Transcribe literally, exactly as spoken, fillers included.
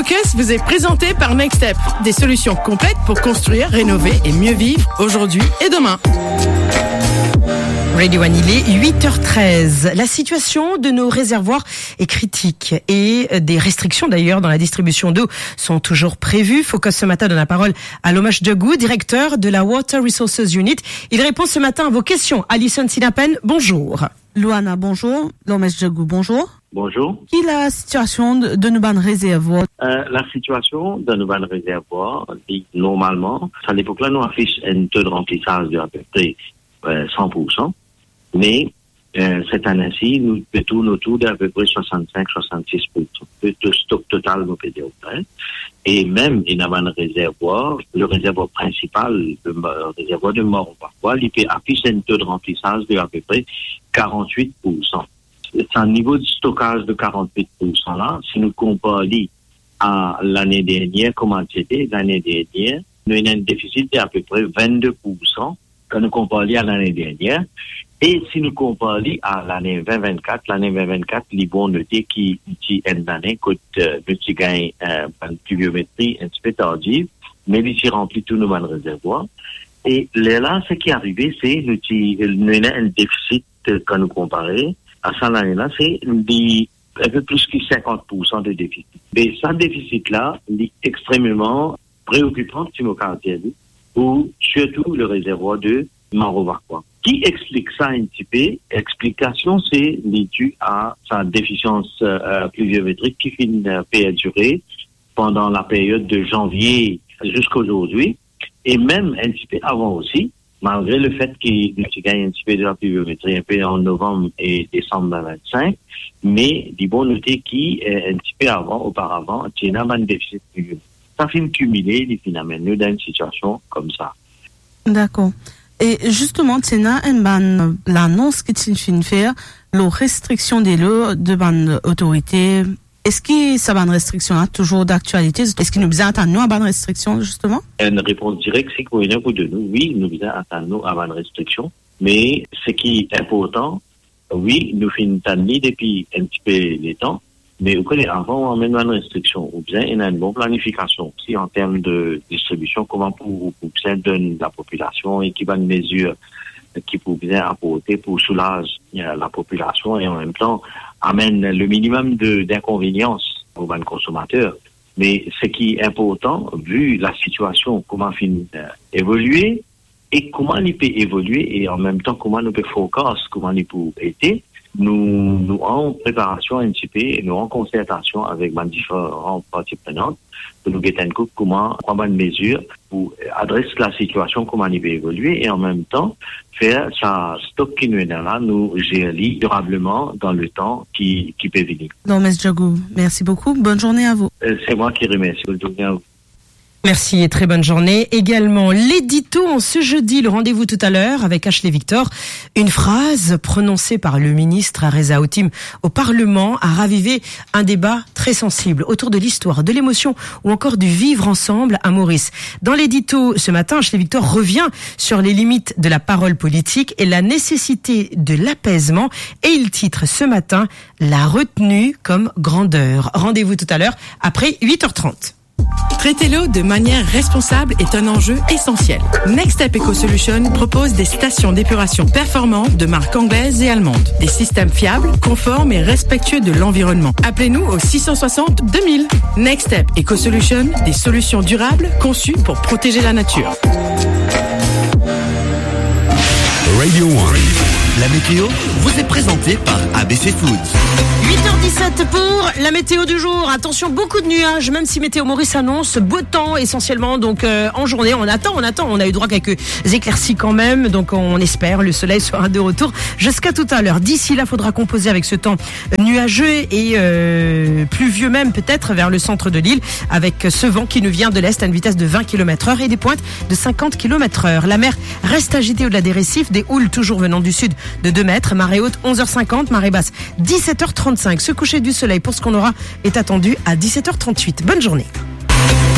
Podcast vous est présenté par Nextep, des solutions complètes pour construire, rénover et mieux vivre aujourd'hui et demain. Radio One, il est huit heures treize. La situation de nos réservoirs est critique et des restrictions d'ailleurs dans la distribution d'eau sont toujours prévues. Focus ce matin donne la parole à Lomesh Djagou, directeur de la Water Resources Unit. Il répond ce matin à vos questions. Alison Sinapen, bonjour. Loana, bonjour. Lomesh Djagou, bonjour. Bonjour. Ki la sitiasion de, de nou bann rezervwar? Euh, la sitiasion dan nou bann rezervwar, li, normalman, sa lepok la, nou afis enn to de ranplisaz de apepre, euh, san pour san. Me, euh, set ane-si, nou pe tourn otour de apepre swasann-sink, swasann-sis pour san de, de stok total, nou pe dir, hein. E mem, ena bann rezervwar, le rezervwar prinsipal, le ma-, rezervwar de Mawrovakoua, li pe afis enn to de ranplisaz de apepre karant-wit pour san. Sa nivo de stokaz de karant-wit pour san la, si nou konpar li a lane dernier, kouma ti ete lane dernier, nou ena enn defisit de apepre vennde pour san kan nou konpar li a lane dernier. E si nou konpar li a lane vin vinn-kat, lane vin vinn-kat, li bon note ki ti enn lane kot, euh, nou ti gagn, euh, bann pliviometri enn tipe tardiv, me li ti ranpli tou nou bann rezervwar. E lerla, seki arive, se nou ti, nou ena enn defisit, euh, kan nou konpare a sa lane la, se li enpe plis ki sinkant pour san de defisit. Me sa defisit la, li extrememan preokipan, si mo kapav dir li, pou sirtou le rezervwar de Mawrovakoua. Ki explik sa enn tipe? Explikasion, se li di a sa defisians, euh, pliviometrik ki finn, euh, perdire pandan la period de zanvie ziska zordi, e mem enn tipe avan osi, malgre lefet ki nou ti gagn enn tipe de lapliviometri enpe an novanm e desanm vin vinn-sink, me li bon note ki, euh, enn tipe avan, oparavan, ti ena bann defisit pliviometrik. Sa finn kimile, li finn amenn nou dan enn sitiasion koumsa. Dakor. E zisteman, ti ena enn bann lanons ki ti finn fer lor restriksion delo de bann otorite. Eski sa bann restriksion la touzour daktialite? Eski nou bizin atann nou a bann restriksion, zisteman? Enn repons direk, se ki mo ena pou donn nou, wi, nou bizin atann nou a bann restriksion. Me seki inportan, wi, nou finn tann li depi enn tipe letan, me ou kone, avan ou amenn bann restriksion, ou bizin ena enn bon planifikasion osi an term de distribision, kouma pou, pou bizin donn lapopilasion e ki bann mezir ki pou bizin aporte pou soulaz, euh, lapopilasion e an mem tan amenn le minimum de, d'inconvénients pou bann konsomater. Me seki inportan, vi lasitiasion, kouma finn, euh, evolie, e kouma li pe evolie, e an mem tan kouma nou pe forecast kouma li pou ete, nou, nou an preparasion enn tipe, nou an konsertasion avek bann diferan parti prenant, pou nou get enn kout kouma, kouma bann mezir pou adres lasitiasion kouma li pe evolie, e an mem tan fer sa stok ki nou ena la, nou zer li dirableman dan letan ki, ki pe vini. Lomesh Djagou, merci beaucoup. Bonne journée à vous. Euh, c'est moi qui remercie. Bonne journée à vous. Merci et très bonne journée. Également, l'édito en ce jeudi, le rendez-vous tout à l'heure avec Ashley Victor. Une phrase prononcée par le ministre Areza Haoutim au Parlement a ravivé un débat très sensible autour de l'histoire, de l'émotion ou encore du vivre ensemble à Maurice. Dans l'édito ce matin, Ashley Victor revient sur les limites de la parole politique et la nécessité de l'apaisement et il titre ce matin : « La retenue comme grandeur ». Rendez-vous tout à l'heure après huit heures trente. Traiter l'eau de manière responsable est un enjeu essentiel. Next Step Eco Solution propose des stations d'épuration performantes de marque anglaise et allemande. Des systèmes fiables, conformes et respectueux de l'environnement. Appelez-nous au six cent soixante deux mille. Next Step Eco Solution, des solutions durables conçues pour protéger la nature. Radio One. La météo vous est présentée par A B C Foods. Huit heures dix-sept pour la météo du jour. Attention, beaucoup de nuages, même si Météo Maurice annonce beau temps essentiellement. Donc, euh, en journée, on attend, on attend. On a eu droit à quelques éclaircies quand même. Donc, on espère le soleil sera de retour jusqu'à tout à l'heure. D'ici là, faudra composer avec ce temps nuageux et, euh, pluvieux même peut-être vers le centre de l'île, avec ce vent qui nous vient de l'est à une vitesse de vingt kilomètres heure et des pointes de cinquante kilomètres heure. La mer reste agitée au-delà des récifs, des houles toujours venant du sud de deux mètres. Marée haute, onze heures cinquante, marée basse, dix-sept heures trente-cinq. Ce coucher du soleil, pour ce qu'on aura, est attendu à dix-sept heures trente-huit. Bonne journée.